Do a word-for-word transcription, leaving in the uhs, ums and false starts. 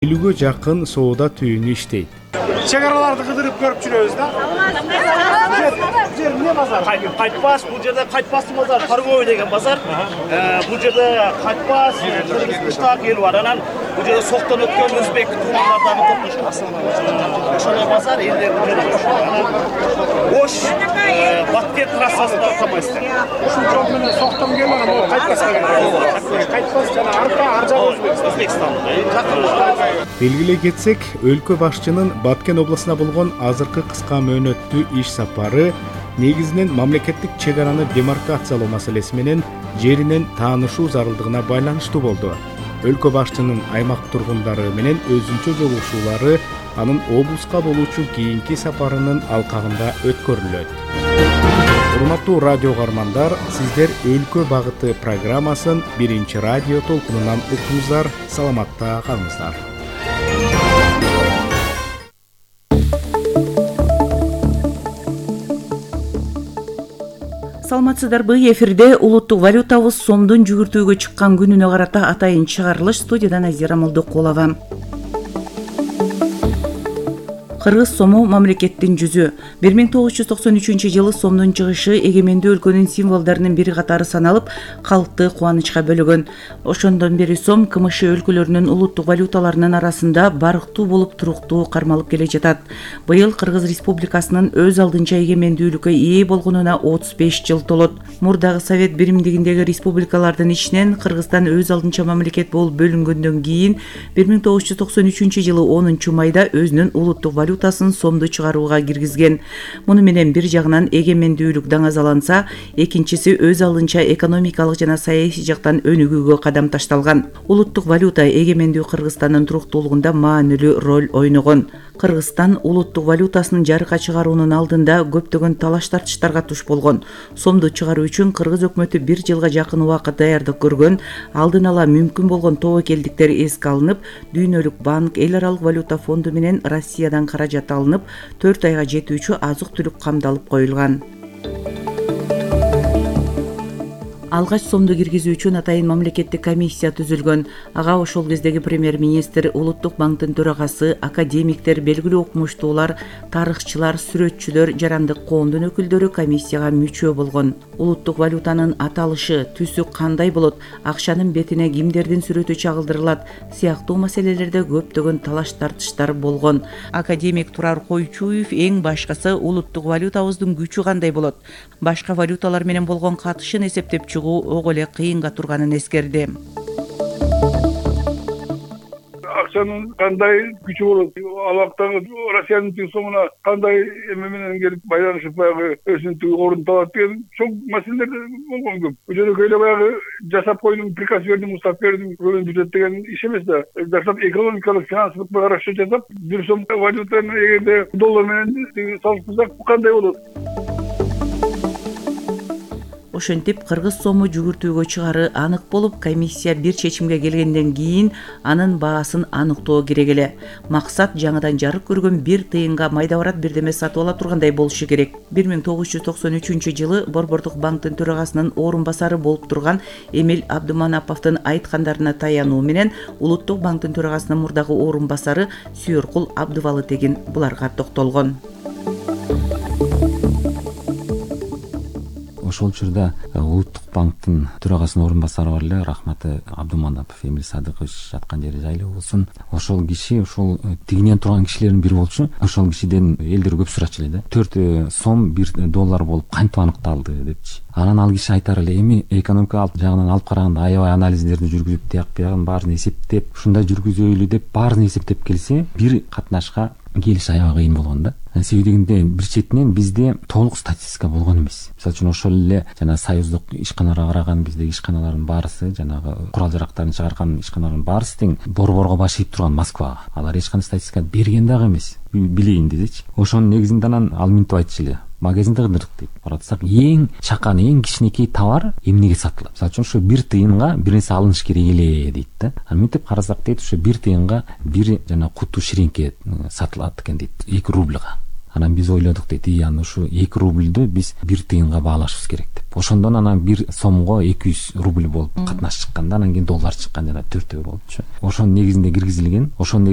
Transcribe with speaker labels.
Speaker 1: элүүгө жакын соода түйүнү иштейт.
Speaker 2: Чек араларды кыдырып көрүп жүрөбүз да. Жер эмне базар?
Speaker 3: Кайтпас, бул жерде Кайтпастын базары, торговый деген базар. Бул жерде Кайтпас, Кыргыз кыштак эл бар. Анан бул жерде соктон өткөн өзбек туулардагы топтошкон. Ошол базар элде бул жерде анан Ош Баткен трассасында тамайсыздар.
Speaker 2: Ушул жол менен соктон келген, бул Кайтпаска келген. Кайтпас жана арка ар жагы
Speaker 3: Өзбекстан.
Speaker 1: Белгилей кетсек, өлкө башчынын Баткен областына болгон азыркы кыска мөөнөттүү иш сапары негизинен мамлекеттик чек араны демаркациялоо маселеси менен жеринен таанышуу зарылдыгына байланыштуу болду. Өлкө башчынын аймак тургундары менен өзүнчө жолугушуулары анын облуска болуучу кийинки сапарынын алкагында өткөрүлөт. Урматтуу радио каармандар, сиздер Өлкө багыты программасын биринчи радио толкунунан уктуңуздар. Саламатта калыңыздар.
Speaker 4: Саламатсыздарбы? Эфирде улуттук валютабыз сомдун жүгүртүүгө чыккан күнүнө карата атайын чыгарылыш. Студиядан Азира Молдокулова. Кыргыз сому мамлекеттин жүзү. бир миң тогуз жүз токсон үчүнчү жылы сомдун чыгышы эгемендүү өлкөнүн символдорунун бири катары саналып, калкты кубанычка бөлөгөн. Ошондон бери сом КМШ өлкөлөрүнүн улуттук валюталарынын арасында барктуу болуп туруктуу кармалып келе жатат. Быйыл Кыргыз Республикасынын өз алдынча эгемендүүлүккө ээ болгонуна отуз беш жыл толот. Мурдагы Совет биримдигиндеги республикалардын ичинен Кыргызстан өз алдынча мамлекет болуп бөлүнгөндөн кийин бир миң тогуз жүз токсон үчүнчү жылы онунчу майда өзүнүн улуттук валютасын сомду чыгарууга киргизген. Муну менен бир жагынан эгемендүүлүк даңазаланса, экинчиси өз алдынча экономикалык жана саясий жактан өнүгүүгө кадам ташталган. Улуттук валюта эгемендүү Кыргызстандын туруктуулугунда маанилүү роль ойногон. Кыргызстан улуттук валютасынын жарыкка чыгаруунун алдында көптөгөн талаш тартыштарга туш болгон. Сомду чыгаруу үчүн Кыргыз өкмөтү бир жылга жакын убакыт даярдык көргөн. Алдын ала мүмкүн болгон тобокелдиктер эске алынып, Дүйнөлүк банк, Эл аралык валюта фонду менен Россиядан каражат алынып, төрт айга жетүүчү азык-түлүк камдалып коюлган. Алгач сомду киргизүү үчүн атайын мамлекеттик комиссия түзүлгөн. Ага ошол кездеги премьер-министр, Улуттук банктын төрагасы, академиктер, белгилүү окумуштуулар, тарыхчылар, сүрөтчүлөр, жарандык коомдун өкүлдөрү комиссияга мүчө болгон. Улуттук валютанын аталышы, түсү кандай болот, акчанын бетине кимдердин сүрөтү чагылдырылат сыяктуу маселелерде көптөгөн талаш тартыштар болгон. Академик Турар Койчуев эң башкысы улуттук валютабыздын күчү кандай болот, башка валюталар менен болгон катышын эсептеп ого эле кыйынга турганын эскерди.
Speaker 5: Акчанын кандай күчү болот, алактагы Россиянын тиң сомуна кандай эме менен келип байланышып баягы өзүнүн ордун табат деген чоң маселелер болгон көп. Бул жерде эле баягы жасап койдум, приказ бердим, устав бердим, көбүн бюджет деген иш эмес да. Жасап экономикалык, финансылык расчет жасап, бир сом валютаны эгерде доллар менен салыштырсак кандай болот?
Speaker 4: Ошентип Кыргыз сому жүгүртүүгө чыгары анык болуп, комиссия бир чечимге келгенден кийин анын баасын аныктоо керек эле. Максат жаңыдан жарык көргөн бир тыйынга майда барат бирдеме сатып ала тургандай болушу керек. бир миң тогуз жүз токсон үчүнчү жылы Борбордук банктын төрагасынын орун басары болуп турган Эмил Абдуманаповдун айткандарына таянуу менен Улуттук банктын төрагасынын мурдагы орун басары Сүйөркул Абдывалы Тегин буларга токтолгон.
Speaker 6: Ошол учурда Улуттук банктын төрагасынын орун басары бар эле, рахматы Абдуманапов Эмил Садыкович, жаткан жери жайлуу болсун. Ошол киши ошол тигинен турган кишилердин бири болчу. Ошол кишиден элдер көп сурачу эле да. төрт сом бир доллар болуп кантип аныкталды депчи. Анан ал киши айтар эле, эми экономикалык жагынан алып караганда аябай анализдерди жүргүзүп, тияк биягын баарын эсептеп, ушундай жүргүзөйлү деп баарын эсептеп келсе, бир катнашка келиш аябай кыйын болгон да. Себеби дегенде бир четинен бизде толук статистика болгон эмес. Мисалы үчүн ошол эле жана союздук ишканаларга караган биздеги ишканалардын баарысы, жанагы курал жарактарын чыгарган ишканалардын баарысы тең борборго баш ийип турган Москвага. Алар эч кандай статистика берген дагы эмес. Билейин десечи. Ошонун негизинде анан ал минтип айтчу эле. Магазинде кыдырдык дейт. Баратсак эң чакан, эң кичинекей товар эмнеге сатылат? Мисалы үчүн ушу бир тыйынга бир нерсе алыныш керек эле дейт да. Анан минтип карасак дейт, ушу бир тыйынга бир жана куту ширинке сатылат экен дейт. эки рубльга. Анан биз ойлодук дейт, и аны ушу эки рубльдү биз бир тыйынга баалашыбыз керек деп. Ошондон анан бир сомго эки жүз рубль болуп катнаш чыкканда, анан кийин доллар чыккан, жана төртөө болчу. Ошонун негизинде киргизилген. Ошонун